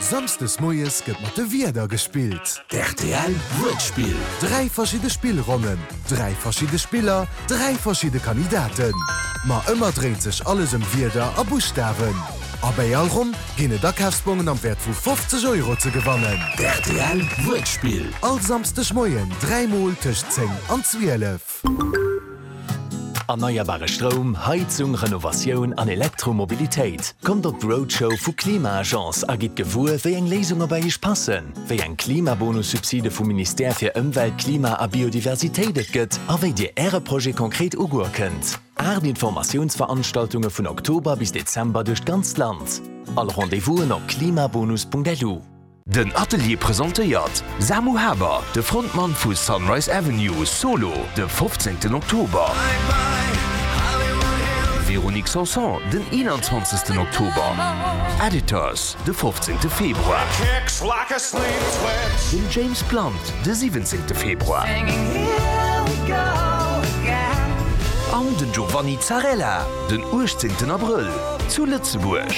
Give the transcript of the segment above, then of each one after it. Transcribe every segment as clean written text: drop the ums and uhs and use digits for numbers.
Samsdes moies gëtt mat de Wierder gespillt. D'RTL Wuertspill. 3 verschidde Spillronnen, 3 verschidde Spiller, 3 verschidde Kandidaten. Ma ëmmer dréint sech alles ëm Wierder a Buschtawen. A bäi all Ronn ginn et Akafsbongen am Wäert vu 50 Euro ze gewannen. D'RTL Wuertspill. All Samsdeg Moien 3 mol tëscht 10 an 12. Erneierbare Stroum, Heizung, Renovatioun an Elektromobilitéit. Kommt op d'Roadshow vu Klima-Agence a gitt gewuer, wéi eng Léisunge bei Iech passen, wéi eng Klimabonussubside vum Ministère fir Ëmwelt, Klima a Biodiversitéit et gëtt a wéi Dir Äre Projet konkret ugoe kënnt. 8 Informatiounsveranstaltunge vun Oktober bis Dezember duerch d'ganzt Land. All Rendez-vousen op klimabonus.lu. Den Atelier presentéiert Samu Haber, de Frontmann vu Sunrise Avenue, solo, de 15 Oktober. Véronique Sanson, den 21 Oktober. Editors, de 15 Februar. Den James Blunt, de 17 Februar. An den Giovanni Zarrella, den 18 Abrëll, zu Lëtzebuerg.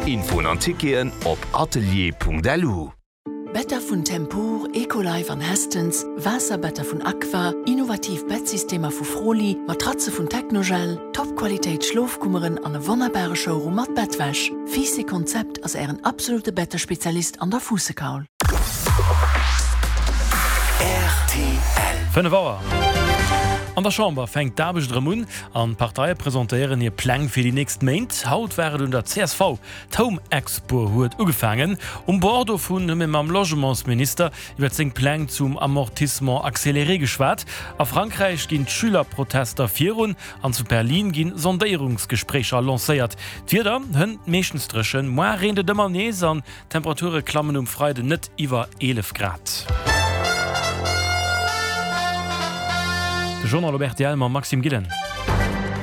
Infoen an Ticketen op atelier.lu. Better vun Tempur, Ecolife an Hästens, Waasserbetter vun Aqua, innovativ Bettsystemer vu Froli, Matratze vun Technogel, Top-Qualitéit Schlofkummeren an e wonnerbare Showroom mat Bettwäsch. Fiiss Konzept ass ären absolute Bettespezialist an der Fuussekaul. Rtl. 5 Auer. An der Chamber fänkt d'Aarbecht erëm un an d'Parteie presentéieren hir Pläng fir déi nächst Méint. Haut war et un der csv. D'Home Expo huet ugefaangen. Um Bord dovun hu mir mam Logementsminister iwwer seng Pläng zum Amortissement accéléré geschwat. A Frankräich ginn d'Schülerprotester virun an zu Berlin gi Sondéierungsgespréicher lancéiert. D'Wieder hënt meeschtens dréchen, moar reent et ëmmer nees an D'Temperature klammen um Freiden net iwwer 11 Grad. De Journal op rtl mam Maxime Gillen.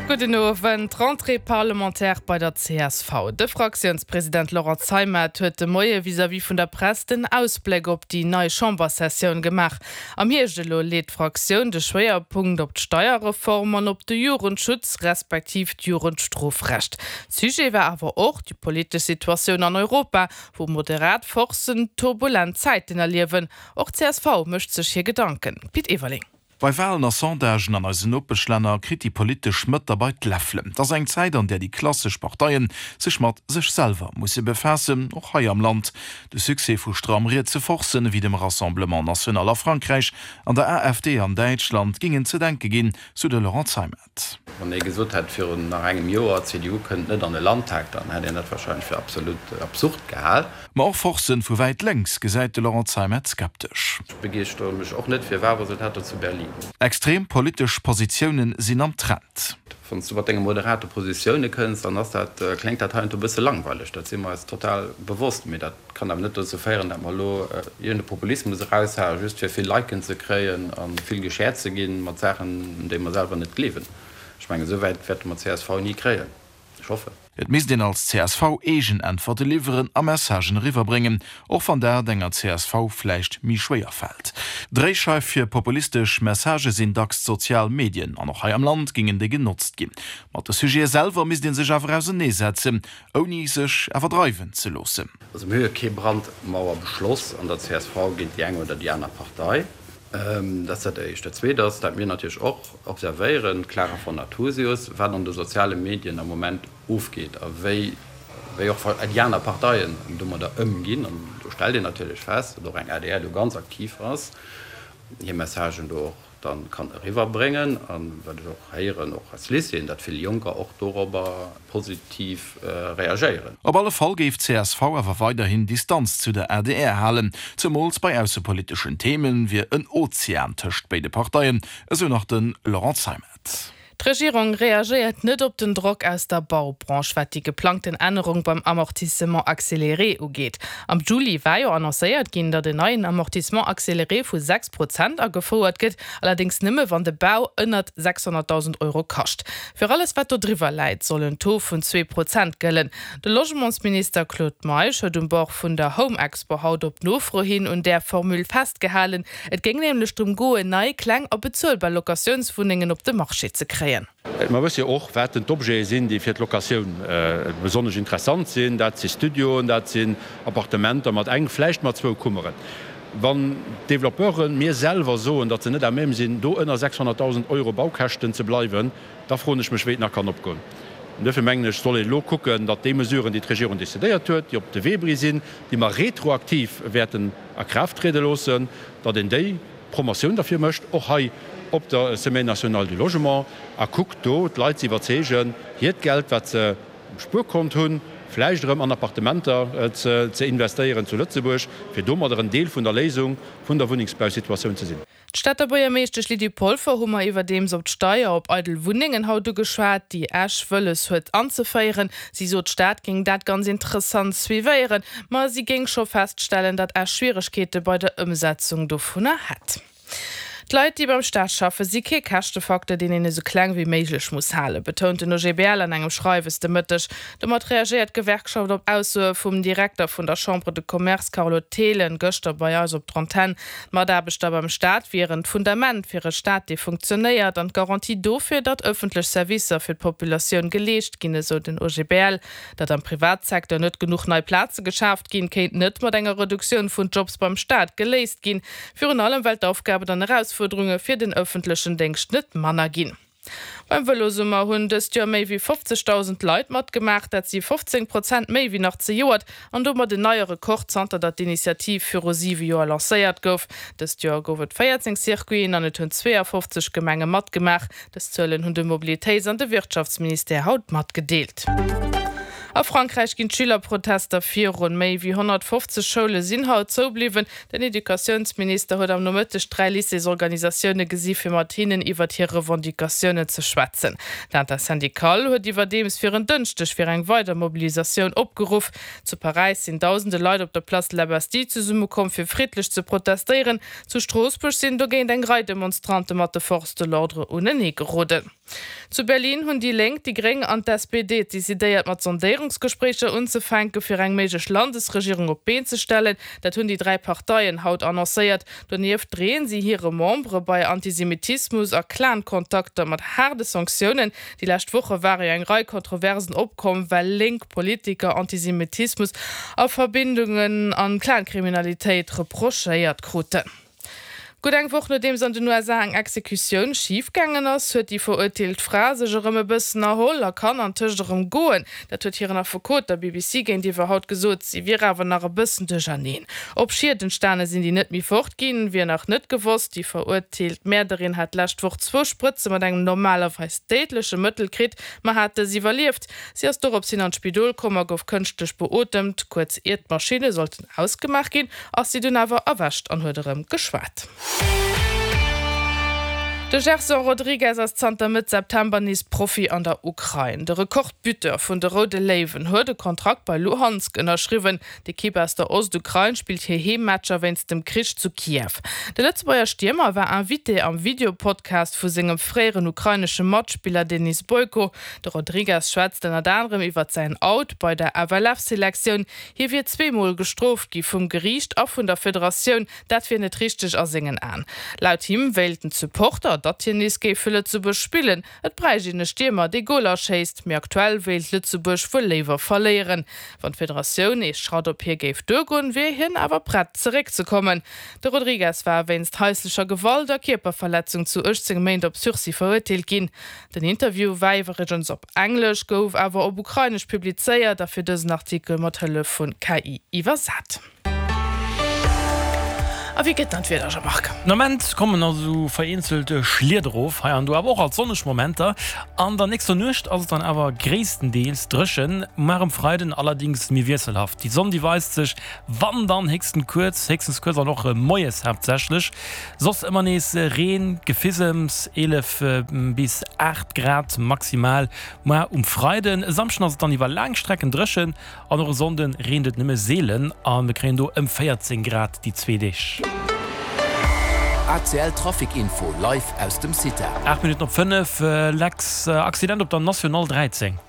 Gudden Owend. Rentrée parlementaire bei der csv. De Fraktiounspresident Laurent Zeimet huet de Moie vis-à-vis vun der Press den Ausbléck op déi nei Chamberssessioun gemaach. Am Hierscht elo leet d'Fraktioun de Schwéierpunkt op d'Steierreform an op de Jugendschutz, respektiv d'Jugendstrofrecht. Sujet war awer och déi politesch Situatioun an Europa, wou moderat Forcen turbulent Zäiten erliewen. Och csv mécht sech hir Gedanken. Pit Everling. Bei Walen a Sondagen an eisen Nopeschlänner kritt déi politesch Mëtt derbei d'Läffelen. Et ass eng Zäit, an där déi klassesch Parteien sech mat sech selwer musse befaassen, och hei am Land. De Succès vu stramm rietse Forcen ewéi dem Rassemblement National a Frankräich an der AfD an Däitschland gingen ze denke ginn, sou de Laurent Zeimet. Wann ee gesot hätt virun nach engem Joer, d'CDU kënnt net an de Landtag, dann hätt een dat warscheinlech fir absolut absurd gehal. Ma och Forcen vu wäit lénks gesäit de Laurent Zeimet skeptesch. Ech begeeschtere mech och net fir Wahlresultater zu Berlin. Extrem politesch Positioune sinn am Trend. Wann s du mat denge moderate Positioune kënns, dann ass dat, kléngt dat heiansdo e bësse langweileg. Dat si mer eis total bewosst. Mee dat Kann awer net dozou féieren, dat mer elo iergend e Populismus eraushaen, just fir vill Liken ze kréien a vill geshared ze ginn mat Saachen, un déi mer selwer net gleewen. Ech mengen, esou wäit wäerte mer csv ni kréien. Ech hoffen. Et misst een als csv eegen Äntwerte liwweren a Messagen eriwwerbréngen, och wann dat enger csv vläicht méi schwéier fält. Dréischeif fir populistesch Messagë sinn dacks d'sozial Medien, an och hei am Land gingen déi genotzt ginn. Mat de Sujete selwer misst ee sech awer auserneesetzen, Ouni sech awer dreiwen ze loossen. Also mir hu jo kee Brandmauerbeschloss an der csv géint déi eng oder déi aner Partei. Dat ass dat Éischt. Dat Zweet ass, dat mir natierlech och observéieren, d'Clara von Nathusius, wat an de soziale Medien am Moment ofgeet a wéi wéi och déi aner Parteien domadder ëmginn. An do stellt een natierlech fest, datt och eng adr do ganz aktiv ass, hir Messagen do och dann kann eriwwer bréngen an wat ech och héieren, och aus Lycéeën, datt vill Jonker och dorobber positiv reagéieren. Op alle Fall géif csv awer weiderhin Distanz zu der adr halen. Zemools bei aussepoliteschen Themen wier en Ozean tëscht béide Parteien, esou nach de Laurent Zeimet. D'Regierung reagéiert net op den Drock aus der Baubranche, wat déi geplangten Ännerung beim Amortissement accéléré ugeet. Am Juli war jo annoncéiert ginn, datt en neien Amortissement accéléré vu 6 Prozent agefouert gëtt, allerdéngs nëmme wann de Bau ënnert 600.000 Euro kascht. Fir alles wat dodriwwer läit, soll en Taux vun 2 Prozent gëllen. De Logementsminister Claude Meisch huet um Bord vun der Home Expo haut op Nofro hin un där Formule festgehalen. Et géing nämlech drëm goen, nei, kleng a bezuelbar Locatiounswunnengen op de Marché ze kréien. kréien. Mer wësse jo och, wat denn d'Objete sinn, déi fir d'Locatioun besonnesch interessant sinn. Dat si Studioen, dat sinn Appartementer mat eng, vläicht mat zwou Kummeren. Wann d'Développeuren mir selwer soen, datt se net à même sinn, do ënner 600.000 Euro Baukäschten ze bleiwen, da froen ech mech, wéi et nach kann opgoen. An duerfir mengen ech, soll een elo kucken, datt déi Mesuren, déi d'Regierung decidéiert huet, déi op de Wee bri sinn, déi mer retroaktiv wäerten a Kraaft triede loossen, datt een déi Promotioun derfir mécht, och hei op der Semaine nationale du logement, a kuckt do d'Leit ze iwwerzeegen, hiert Geld, wat se um Spuerkont hunn, vläicht erëm an Appartementer ze investéieren zu Lëtzebuerg, fir domadder en Deel vun der Léisung vun der Wunnengsbausituatioun ze sinn. D'Stater Buergermeeschtesch Lydie Polfer hu mer iwwerdeems op d'Steier op eidel Wunnengen haut ugeschwat, déi Esch wëlles huet anzeféieren. Si sot, d'Stad géing dat ganz interessant suivéieren, ma si géing scho feststellen, datt Esch Schwieregkeete bei der Ëmsetzung dovunner hätt. D'Leit, déi beim Staat schaffen, si kee Käschtefacteur, deen een esou kleng wéi méiglech muss halen, betount den OGBL an engem Schreiwes de Mëtteg. Domat reagéiert d'Gewerkschaft op Aussoe vum Direkter vun der Chambre de Commerce Carlo Thelen gëschter bei eis op d'Antenn. D'Mataarbechter beim Staat wieren d'Fundament fir e Staat, dee funktionéiert an d'Garantie dofir, datt ëffentlech Servicer fir d'Populatioun geleescht ginn, esou den OGBL. Datt am Privatsecteur net genuch nei Plaze geschaaft ginn, kéint net mat enger Reduktioun vun Jobs beim Staat geléist ginn. Virun allem well d'Aufgaben an Erausfuerderunge fir den ëffentlechen Déngscht net manner ginn. Beim Vëlosummer hunn dëst Joer méi wéi 50.000 Leit matgemaach. Dat si 15 Prozent méi wéi nach zejoert an domat en neie Rekord zanter datt d'Initiativ viru siwe Joer lancéiert gouf. Dëst Joer gouf et 14 Circuiten an et hunn 52 Gemenge matgemaach. Dës Zuelen hunn de Mobilitéits an de Wirtschaftsministère haut matgedeelt. A Frankräich ginn d'Schülerprotester virun. Méi wéi 150 Schoule sinn haut zoubliwwen. Den Educatiounsminister huet am Nomëtteg 3 Lycéesorganisatioune gesi fir mat hinnen iwwert hir Revendicatiounen ze schwätzen. D'Intersyndicale huet iwwerdeems fir en Dënschdeg fir eng weider Mobilisatioun opgeruff. Zu Paräis sinn dausende Leit op der Place de la Bastille zesummekomm fir friddlech ze protestéieren. Zu Stroossbuerg sinn dogéint eng Rei Demonstrante mat de Forces de l'ordre unenee geroden. Zu Berlin hunn déi Lénk, déi Gréng an d'SPD decidéiert mat Sondéierungsgespréicher unzefänke fir eng méiglech Landesregierung op d'Been ze stellen. Dat hunn déi 3 Parteien haut annoncéiert. Donieft dreeën si hire Membere bei Antisemitismus a Clan-Kontakter mat haarde Sanktiounen. Déi lescht Woche ware jo eng Rei Kontroversen opkomm, well lénk Politiker Antisemitismus a Verbindungen an Clankriminalitéit reprochéiert kruten. Gutt eng Woch nodeems an den USA eng Exekutioun schif gaangen ass, huet déi verurteelt Fra sech erëm e bëssen erholl a kann antëscht erëm goen. Dat huet hiren Affekot der BBC géintiwwer haut gesot. Si wier awer nach e bëssen duercherneen. Ob Schied entstane sinn, déi net méi fort ginn, wier nach net gewosst. Déi verurteelt Mäerderin hat d'lescht Woch zwou Sprëtze mat engem normalerweis déidleche Mëttel kritt, ma hat dës iwwerlieft. Si ass dorops hin an d'Spidol komm a gouf kënschtlech beotemt. Kuerz iert d'Maschinne sollten ausgemaach ginn, ass si dunn awer erwächt an huet erëm geschwat. De Gerson Rodrigues ass zanter Mëtt September nees Profi an der Ukrain. De Rekordbuteur vun de Roude Léiwen huet e Kontrakt bei Luhansk ënnerschriwwen. D'Ekipp aus der Ostukrain spillt hir Heemmatcher wéinst dem Krich zu Kiew. De Lëtzebuerger Stiermer war Invité am Video-Podcast vu sengem fréieren ukrainesche Matspiller Denis Boyko. De Rodrigues schwätzt ënnert anerem iwwert säin Out bei der FLF-Selektioun. Hie wier zweemol gestrooft gi vum Geriicht a vun der Federatioun. Dat wier net richteg a sengen Aen. Laut him wéilten d'Supporter, datt hien nees géif fir Lëtzebuerg spillen. Et bräicht een e Stiermer, dee Goler schéisst, mee aktuell wéilt Lëtzebuerg wuel léiwer verléieren. Wann d'Federatioun ee Schratt op hie géif duergoen, wier hien awer prett zeréckzekommen. De Rodrigues war wéinst haislecher Gewalt a Kierperverletzung zu 18 Méint op Sursis verurteelt ginn. Den Interview war iwwregens op Englesch, gouf awer op Ukrainesch publizéiert a fir dësen Artikel mat Hëllef vun KI iwwersat. A wéi gëtt dann d'Wieder, Jean-Marc? Den Ament kommen nach esou vereenzelt Schliet erof, hei an do awer och alt sonneg Momenter. An der nächster Nuecht ass et dann awer gréisstendeels dréchen, mar um Freiden allerdings méi wiesselhaft. Déi Sonn déi weist sech wann dann héchstens kuerz, héchstens kuerz an och moies haaptsächlech. Soss ëmmer nees Reen, Gefisems, 11 bis 8 Grad maximal muar um Freiden. E Samschden ass et dann iwwer laang Strecken dréchen an och e Sonnde reent et nëmme seelen a mir kréien do ëm 14 Grad déi zwee Deeg. ACL Trafic Info live aus dem CITA. 8 Minutten op 5, Lex, Accident op der National 13.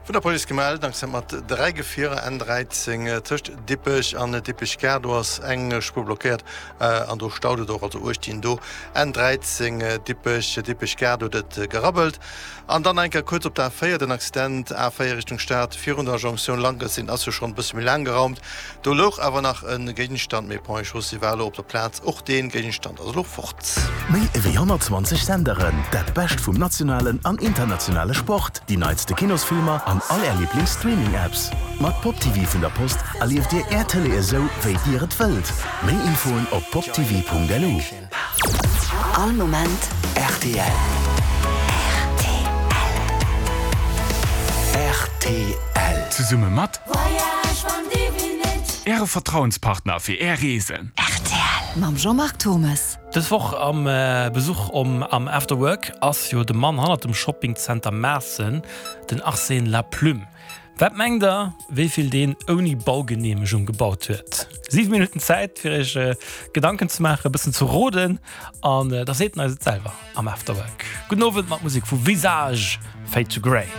Vun der Police gemellt, en Accident mat 3 Gefierer, N 13 tëscht Dippech an Dippech Gare, do ass eng Spuer blockéiert an do staut et och, also uecht dinn do. N 13 Dippech, Dippech Gare, do huet et gerabbelt. An dann eng Kéier kuerz op der A4, den Accident A4 Richtung Stad virun der Jonktioun Lankelzin ass jo schonn e bësse méi laang geraumt. Do louch awer nach e Géigenstand, mee Ponts et Chaussées war elo op der Plaz. Och dee Géigenstand ass elo fort. Méi ewéi 120 Senderen, dat Bescht vum nationalen an internationale Sport, déi neitste Kinosfilmer an all Är Liblings-Streaming-Apps. Mat Pop TV vun der Post erlieft Dir Är Tëlee esou, wéi Dir et wëllt. Méi Infoen op poptv.lu. All Moment rtl. Rtl. Zesumme mat Äre Vertrauenspartner fir Är Reesen. Rtl mam Jean-Marc Thommes. Dës Woch am Besuch am After Work ass jo de Mann hannert dem Shoppingzenter Maassen, den Arsène Laplume. Wat mengt der, wéi vill deen ouni Baugeneemegung gebaut huet? 7 Minutten Zäit fir iech Gedanken ze maachen, e bëssen ze roden an da seet en eis et selwer am After Work. Gudden Owend mat Musek vu Visage, Fade to Grey.